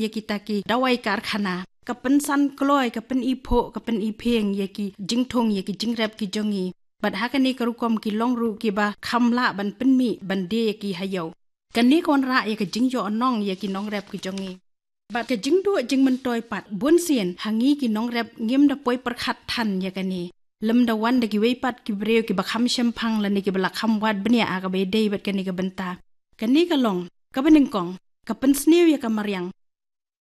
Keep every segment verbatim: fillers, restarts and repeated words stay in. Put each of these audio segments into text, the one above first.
ïa kita ki dawai karkhana, ka pynsan kloi, ka pyniphuh, ka pyniphieng ïa ki jingthung, ïa ki jingrep ki jong ngi. Bad ha kane ka rukom ki long ruh kiba kham lah ban pynmih ban die ïa ki ha ïew. Kane ka wanrah ïa ka jingïohnong ïa ki nongrep ki jong ngi. Bad ka jingduh jingmyntoi pat, bunsien ha ngi ki nongrep ngim da poi pyrkhat than ïa kane. Lymda wan da kiwei pat ki briew kiba kham shemphang lane kiba la kham wad bniah ha kaba ïadei bad kane ka bynta. Kane ka long, kaba nyngkong, ka pynsniew ïa ka mariang.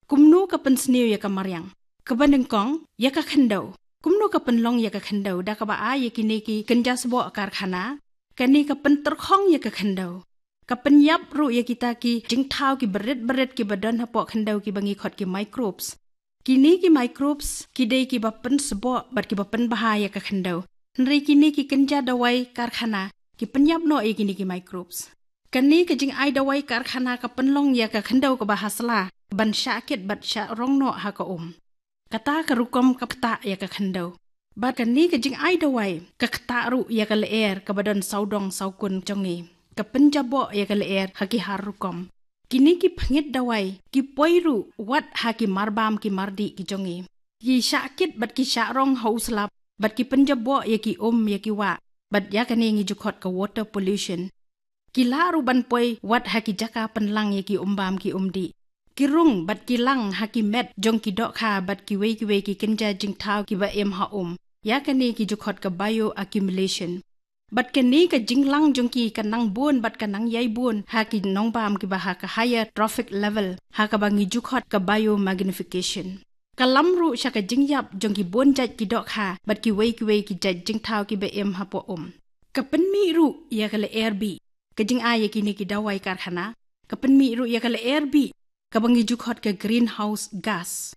Kumno ka pynsniew ïa ka mariang? Kaba nyngkong, ïa ka khyndew. Kumno ka pynlong ïa ka khyndew? Da kaba ai ïa kine ki kynja sboh karkhana, kane ka pyntyrkhong ïa ka khyndew. Ka pynïap ruh ïa kita ki jingthaw kiba rit ba rit kiba don hapoh khyndew kiba ngi khot ki microbes. Kine ki microbes ki dei kiba pynsboh bad kiba pynbha ïa ka khyndew. Hynrei kine ki kynja dawai karkhana ki pynïap noh ïa kine ki microbes. Kane ka jingai dawai karkhana ka pynlong ïa ka khyndew kaba ha sla ban shah kit bad shah rong noh ha ka um. Kata ka rukom ka ktah ïa ka khyndew. Bad kane ka jingai dawai ka ktah ruh ïa ka lyer kaba don sawdong sawkun jong ngi. Ka pynjaboh ïa ka lyer ha ki har rukom. Kine ki phngit dawai ki poi ruh wat ha ki marbam ki mardih ki jong ngi. Ki shah kit bad ki shah rong ha u slap bad ki pynjaboh ïa ki um ïa ki wah. Bad ïa kane ngi ju khot ka water pollution. Ki lah ruh ban poi wat ha ki jaka pynlang ïa ki umbam ki umdih. Ki rung bad ki lang ha ki met jong ki dohkha bad kiwei kiwei ki kynja jingthaw kiba im ha um. Ïa kane ki ju khot ka bioaccumulation. Bad kane ka jinglang jong ki ka nang bun bad ka nang ïai bun ha ki nongbam kiba ha ka higher trophic level, ha kaba ngi ju khot ka biomagnification. Ka lam ruh sha ka jingïap jong ki bun jait ki dohkha bad kiwei kiwei ki jait jingthaw kiba im hapoh um. Ka pynmih ruh ïa ka lyer bih. Ka jingai ïa kine ki dawai karkhana ka pynmih ruh ïa ka lyer bih, kaba ngi ju khot ka greenhouse gas.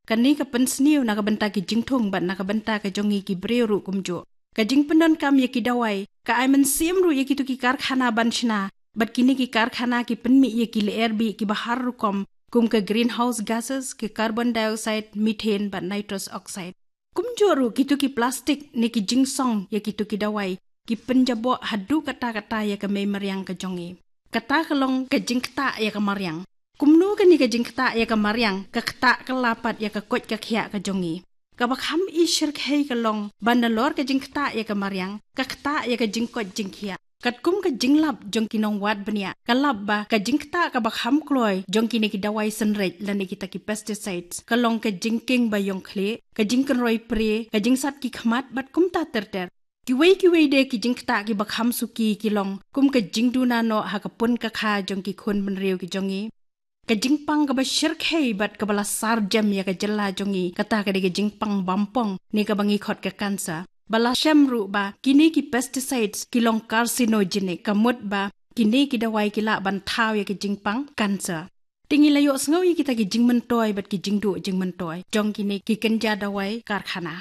Kane ka pynsniew na ka bynta ki jingthung bad na ka bynta ka jong ngi ki briew ruh kumjuh. Ka jingpyndonkam ïa ki dawai ka ai mynsiem ruh ïa kito ki karkhana ban shna. Bad kine ki karkhana ki pynmih ïa ki lyer bih kiba har rukom, kum ka greenhouse gases, ki carbon dioxide, methane bad nitrous oxide. Kumjuh ruh kito ki plastik ne ki jingsong ïa kito ki dawai ki pynjaboh haduh katta katta ïa ka mei mariang ka jong ngi. Kata ka long ka jingktah ïa ka mariang. Kumno kane ka jingktah ïa ka mariang ka ktah ka la pat ïa ka koit ka khiah ka jong ngi? Kaba kham i shyrkhei ka long ba nalor ka jingktah ïa ka mariang ka ktah ïa ka jingkoit jingkhiah. Katkum ka jinglap jong ki nongwad bniah, ka lap ba ka jingktah kaba kham kloi jong kine ki dawai synreit lane kita ki pesticides ka long ka jingkieng ba ïong khlieh, ka jingkynroi pre, ka jingsat ki khmat bad kumta ter ter. Kiwei kiwei de ki jingktah kiba kham suki ki long kum ka jingduna noh ha ka pun ka kha jong ki khun bynriew ki jong ngi. Ka jingpang kaba shyrkhei bad kaba la sar jem ïa ka jylla jong ngi kata ka dei ka jingpang bampong ne kaba ngi khot ka cancer. Ba la shem ruh ba kine ki pesticides ki long carcinogenic, ka mut ba kine ki dawai ki lah ban thaw ïa ka jingpang cancer. Te ngi la ïohsngew ïa kita ki jingmyntoi bad ki jingduh jingmyntoi jong kine ki kynja dawai karkhana.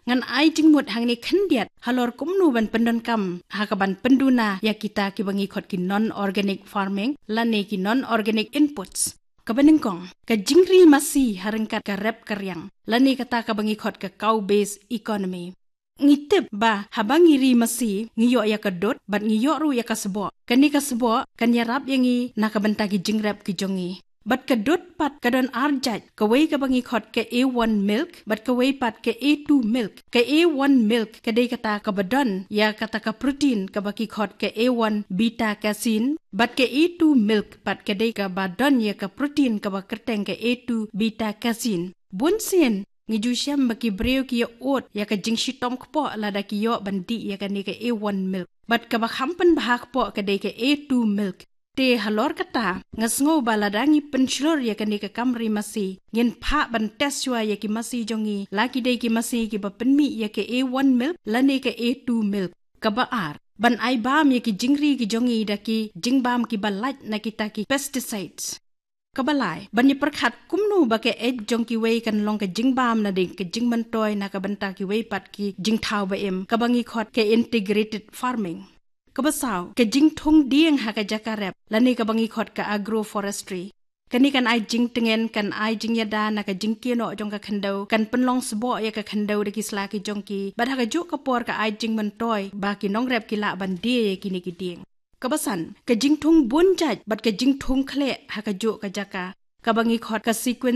Ngan ai jingmut hangne khyndiat halor kumno ban pyndonkam ha kaban pynduna ïa kita kiba ngi khot ki non-organic farming lane ki non-organic inputs. Kaba nyngkong, ka jingri masi ha ryngkat ka rep ka riang lane kata kaba ngi khot ka cow based economy. Ngi tip ba haba ngi ri masi ngi ïoh ïa ka dud bad ngi ïoh ruh ïa ka sboh. Kane ka sboh kan ïarap ïa ngi na ka bynta ki jingrep ki jong ngi. Bad ka dud pat ka don ar jait, kawei kaba ngi khot ka A one milk bad kawei pat ka A two milk. Ka A one milk ka dei kata kaba don ïa kata ka protein kaba ki khot ka A one beta casein, bad ka A two milk pat ka dei kaba don ïa ka protein kaba kyrteng ka A two beta casein. Bun sien ngi ju shem ba ki briew ki ïa ud ïa ka jingshitom kpoh lada ki ïoh ban dih ïa kane ka A one milk. Bad kaba kham pynbha kpoh ka dei ka A two milk. Te halor kata, nga sngew ba lada ngi pynshlur ïa kane ka kam ri masi, ngin phah ban test shuwa ïa ki masi jong ngi la ki dei ki masi kiba pynmih ïa ka A one milk lane ka A two milk. Kaba ar, ban ai bam ïa ki jingri ki jong ngi da ki jingbam kiba lait na kita ki pesticides. Kaba lai, ban ïa pyrkhat kumno ba ka eit jong kiwei kan long ka jingbam nadien ka jingmyntoi na ka bynta kiwei pat ki jingthaw ba im, kaba ngi khot ka integrated farming. Kaba saw, ka jingthung dieng ha ka jaka rep lane kaba ngi khot ka agroforestry. Kane kan ai jingtngen, kan ai jingïada na ka jingkiew noh jong ka khyndew, kan pynlong sboh ïa ka khyndew da ki sla ki jong ki, bad ha kajuh ka por ka ai jingmyntoi ba ki nongrep ki lah ban die ïa kine ki dieng. Kaba san, ka jingthung bun jait bad ka jingthung khleh ha kajuh ka jaka. kaba ngi khot ka sequence